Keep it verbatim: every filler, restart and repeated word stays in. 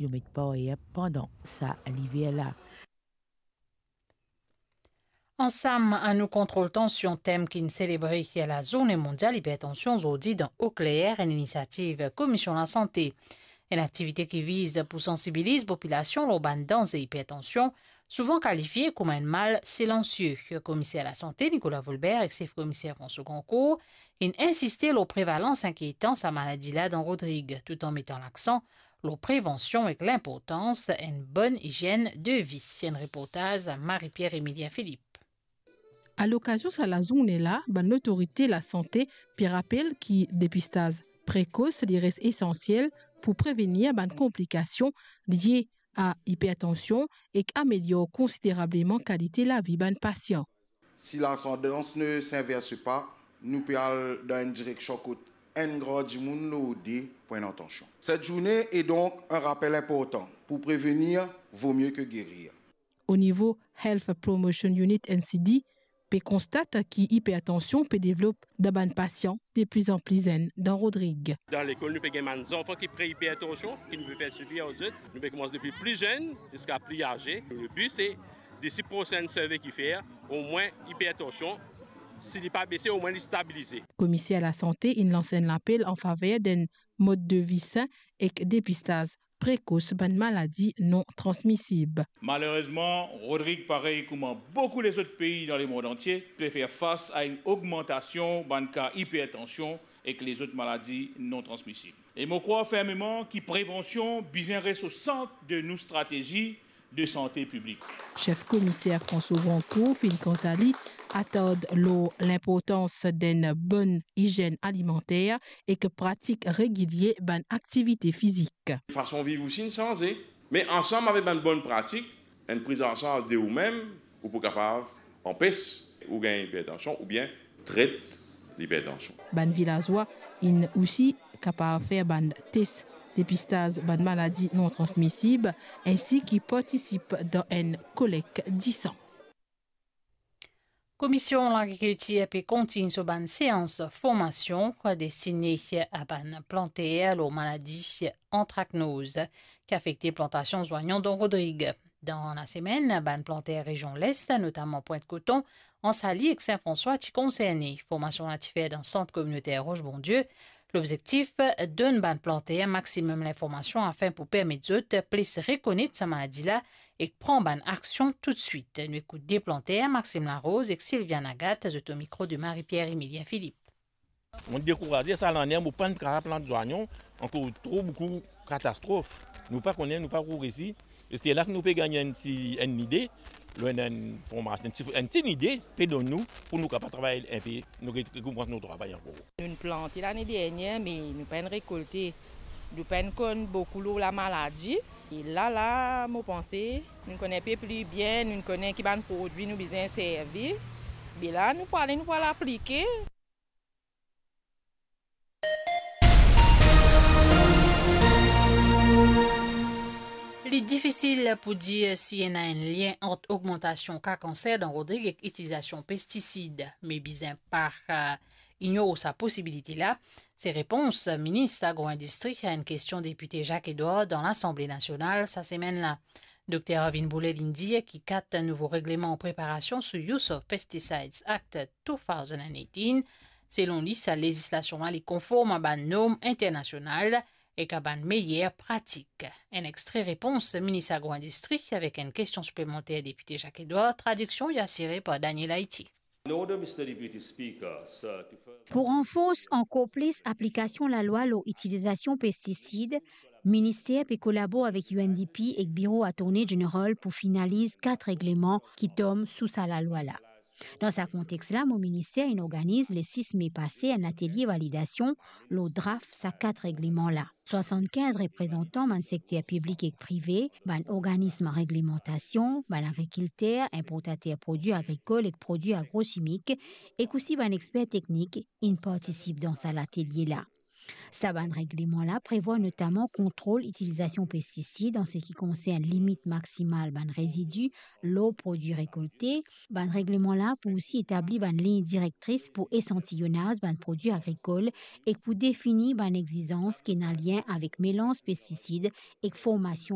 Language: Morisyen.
kilomèt par er pandan sa liver la. Ansam, annou kontrol tansion, tem ki'nn selebre lazourne mondial ipertansion zordi dan Eau Claire, enn inisiativ Komision Lasante. Enn aktivite ki viz pou sansibiliz popilasion lor bann danze ipertansion, souvan kalifie kouma enn mal silansie. Komiser lasante Nicolas Volbert ek sef komiser François Grandcourt inn insiste lor prevalans inkietan sa maladi la dan Rodrig, toutan metan laksan lor prevansion ek linportans enn bonn izienn de vi. Enn reportaz Marie-Pierre Emilien Philippe. Alokazion sa lazourne la, bann lotorite lasante pe rapel ki depistaz prekos li res esansiel pou prevenir bann konplikasion lie a ipertansion ek amelior konsiderableman kalite lavi bann pasian. Si la tendance ne s'inverse pas, nou pe al dan enn direksion kot enn gran dimoun lor de pou enn atansion. Cette journée est donc un rappel important. Pour prévenir, vaut mieux que guérir. O nivo Health Promotion Unit, N C D, pe konstat ki ipertansion pe devlop dan bann pasian de pli an pli zenn dan Rodrig. Dan lekol, nou pe gagn bann zanfan ki pre-ipertansion, ki nou pe fer swivi ar zot. Nou pe koumans depi pli zenn ziska pli aze. Le bi, se disi prosenn survey ki fer, omwin ipertansion, si li pa bese, omwin li stabilize. Komiser lasante inn lans enn lapel an faver d'enn mod de vi sin ek depistaz prekos bann maladi non transmisib. Malerezman, Rodrig, parey kouma boukou lezot pei dan lemond antie, pe fer fas a enn ogmantasion bann ka ipertansion ek lezot maladi non transmisib. E mo krwar fermeman ki prevansion bizin res o sant de nou stratezi de sante piblik. Sef komiser François Grandcourt finn kanta li atard lor linportans d'enn bonn izienn alimanter ek pratik regilie bann aktivite fizik. Fason viv osi inn sanze, me ansam avek bann bonn pratik, enn prizansarz de oumem, ou pou kapav anpes ou gagn ipertansion oubien tret lipertansion. Bann vilazwa inn osi kapav fer bann tes depistaz bann maladi non transmisib, ensi ki partisip dan enn kolek disan. Komisyon Lagrikiltir pe kontign so bann seans formasion destine a bann planter lor maladi antraknoz ki afekte plantasion zwanyon dan Rodrig. Dan lasemenn, bann planter rezion Les, notaman Pwint Koton, Ansali ek Sin Franswa ti konserne. Formasion la ti fer dan Sant Kominoter Roche Bondieu. Lobzektif, donn bann planter maximum linformasion afin pou permet zot plis rekonet sa maladi la ek pran bann aksion toutswit. Nou ekout de planter, Maxime Larose ek Sylviane Agathe, zot o mikro de Marie-Pierre Emilien Philippe. Mo dekouraze sa lane, mo pa'nn kapav plant zwanyon, ankor tro boukou katastrof. Nou pa kone, nou pa pou resi. E se la ki nou pe gagn enn ti, enn lide, lor enn, enn formasion, enn ti, enn ti lide pe donn nou, pou nou kapav travay enpe, nou re-, rekoumans nou travay ankor. Nou'nn plante lane dernie, me nou pa'nn rekolte. Nou pa'nn konn boukou lor lamaladi. E la, la, mo panse, nou konn enpe pli bien, nou konn ki bann prodwi nou bizin servi. Be la, nou pou ale, nou pou al aplike. Li difisil pou dir si ena enn lien ant ogmantasion ka kanser dan Rodrig ek itilizasion pestisid, me bizin pa, eh, ignor sa posibilite la. Se repons Minis Agro-Indistri a enn kestion depite Jacques Edouard dan Lasanble Nasional sa semenn la. Dokter Arvin Boulel inn dir ki kat nouvo regleman an preparasion sou Use of Pesticides Act two thousand and eighteen. Selon li, sa lezislasion la, li konform a bann norm internasional ek a bann meyer pratik. Enn extre repons Minis Agro-Indistri avek enn kestion siplemanter depite Jacques Edouard, tradiksion li asire par Daniel Haiti. In order, Mister Deputy Speaker, sir, to further Pou ranfors ankor plis aplikasion lalwa lor itilizasion pestisid, minister pe kolabor avek U N D P ek Biro Attorney General pou finaliz kat regleman ki tom sou sa lalwa la. Dan sa kontex la, mo minister inn organiz le sis me pase enn atelie validasion lor draf sa kat regleman la. Swasannkinz reprezantan bann sekter piblik ek prive, bann organism reglemantasion, bann agrikilter, inportater prodwi agrikol ek prodwi agrosimik, ek osi bann exper teknik inn partisip dan sa latelie la. Sa bann regleman la prevwar notaman kontrol itilizasion pestisid an seki konsern limit maksimal bann rezidi lor prodwi rekolte. Bann regleman la pou osi etabli bann lign direktris pou esantiyonaz bann prodwi agrikol ek pou defini bann exizans ki ena lien avek melanz pestisid ek formasion